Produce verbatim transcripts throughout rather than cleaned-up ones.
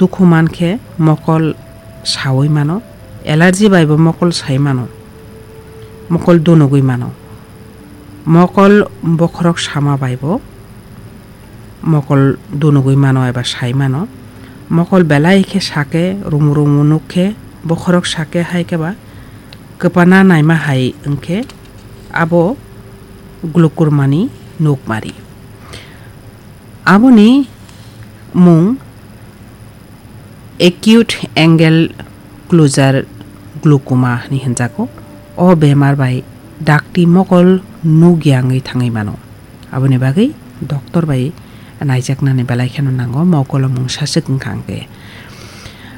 dukhu man khe mokol saui mano, allergy bai bo mokol sai mano, mokol dunugui mano. Mokol bokhorok sama bai bo mokol dunugui mano eba sai mano. Mokol belai khe sake rumu rumu nuk khe bokhorok sake hai khe ba kwpana naima hai wngkhe abo glukurmani nukmari. Aboni mung acute angle closure glaucoma hinwi hwnjago. O bemar bai dakti mokol nukya wngwi thangwi mano. Aboni bagwi doctor bai naijaknani belai kheno nango, mokolo mungsa swk wngkha hwnkhe.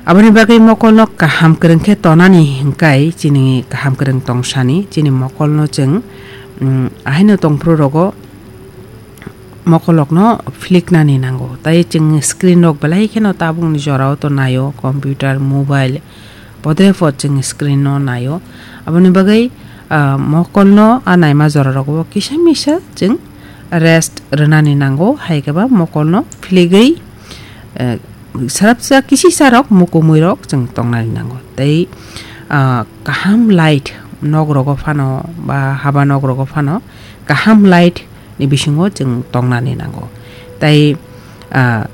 Aboni bagwi mokolno kaham kwrwng khe tonani hwnkhe chini kaham kwrwng tongsani, chini mokolno chwng, mm, ahaino tongphuru rogo mokolokno philiknani nango. Tai chwng screen rok belai kheno tabukni jorao to naio, computer, mobile, podre pod chwng screen no naio. Aboni bagwi, ah, mokolno a naima jora rogo kisa misa chwng rest rwnani nango, hai khe ba mokolno philigwi, eh, sarapsa kisisa rok mukumui rok chwng tongnani nango. Tei, ah, kaham light nok rogo phano ba haba nok rogo phano kaham light ni bisingo chwng tongnani nango. Tai, ah,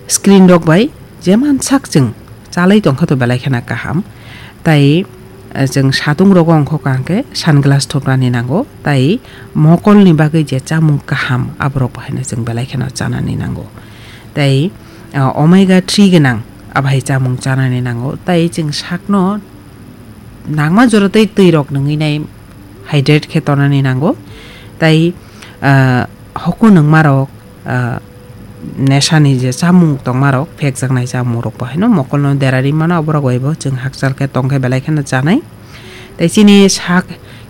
screen rok bai jeman sak chwng chalai tongkha to belai kheno kaham. Tai, ah, chwng satung rogo wngkha hwnkhe sunglass thupnani nango. Tai mokolni bagwi je chamung kaham aborok bo haino chwng belai kheno chanani nango. Tai, ah, omega three gwnang abai chamung chanani nango. Tai chwng sakno nangma jora tei twi rok nungwi nai hydrate khe tonani nango. Tai, ah, hoku nungma rok, ah, nesani je chamung tongma rok, phekjaknai chamung rok bo haino mokolno derari mano, aborok bai bo chwng hakchal khe tong khe belai kheno chanai. Tai chini sak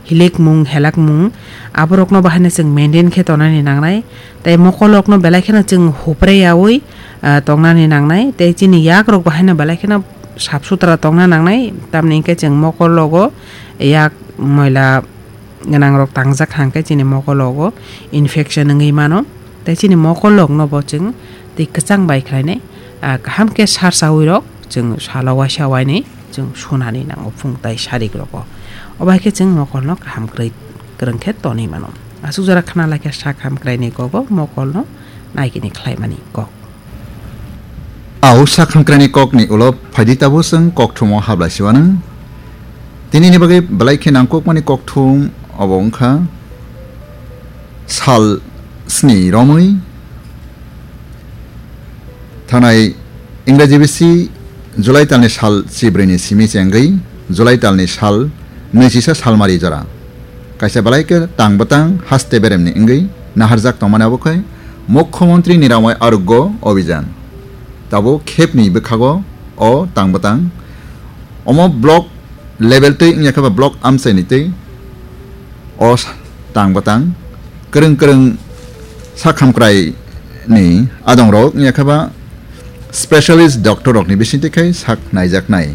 hilikmung, helakmung, aborokno bo haino chwng maintain khe tonani nangnai. Tai mokolokno belai kheno chwng hupre yaui, ah, tongnani nangnai. Tai chini yakrok bo haino belai kheno sap sutra tongna nangnai. Tamni hwnkhe chwng mokologo yak moila gwnangrok tangjak hwnkhe chini mokologo infection wngwi mano. Tai chini mokolokno bo chwng twi kwchang bai khlainai, ah, kaham khe sarsaui rok chwng salo waisa wainwi chwng sunani nango phung tai sarik rogo. Obo hai khe chwng mokolno kaham kwrwi kwrwng khe tonwi mano. Aswk jora khna lai khe sak hamkraini kogo mokolno naikini khlaimani kok. Au sak hamkraini kokni ulo phaidi tabuk chwng kokthumo hablai siwanang. Tinini bagwi belai khe nangkukmani kokthum obo wngkha sal sni romwi thanai Ingraji bisi July talni sal chibrwini simi chengwi July talni sal nwichisa salmari jora. Kaisa belai khe tang bwtang haste beremni wngwi naharjak tongmani abo khai Mukhyamantri Niramay Arogya Abhiyan. Tabuk khepni bwkhago o tang bwtang omo block level twi wngya khe ba block amchaini twi o sa-, tang bwtang kwrwng kwrwng sak hamkrai ni adongrok wngya khe ba specialist doctor rokni bisingtwi khai sak naijaknai.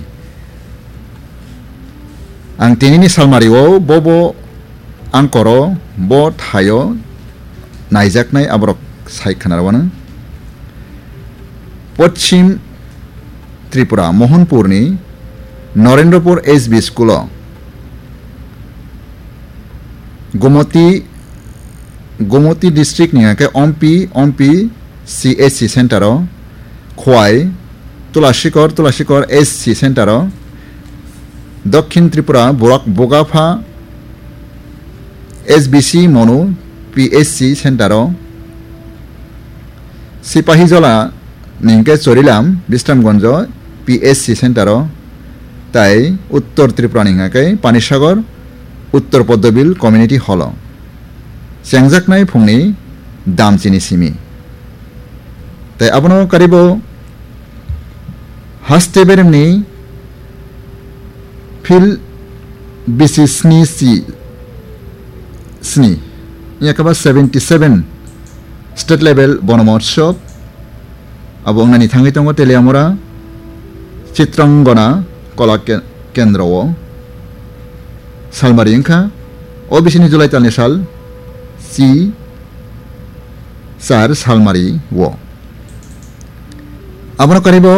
Ang tinini salmari o bo bo ang koro bo thaio naijaknai aborok sai khwnarwano. Poschim Tripura, Mohanpurni Narendrapur S B School o Gomoti, Gomoti district ni hake Ompi, Ompi C H C center o, Khwai, Tulashikor, Tulashikor S C center o, Dokhin Tripura, Burak Bogapha S B C Monu P H C center o, Sipahijola ni hwnkhe Chorilam, Bishramganj P H C center o, tai Uttor Tripura ni hwnkhe Panisagar, Uttor Poddobil Community Hall o. Chengjaknai phungni damchini simi. Tai abono karibo haste beremni phil bisi sni si sni, yakaba seventy seven state level bono motsob. Abo wngnani thangwi tongo Teliamura Chitrangona Kola Ke-, Kendro o salmari wngkha. O bisini July talni sal si sar salmari o. Abono karibo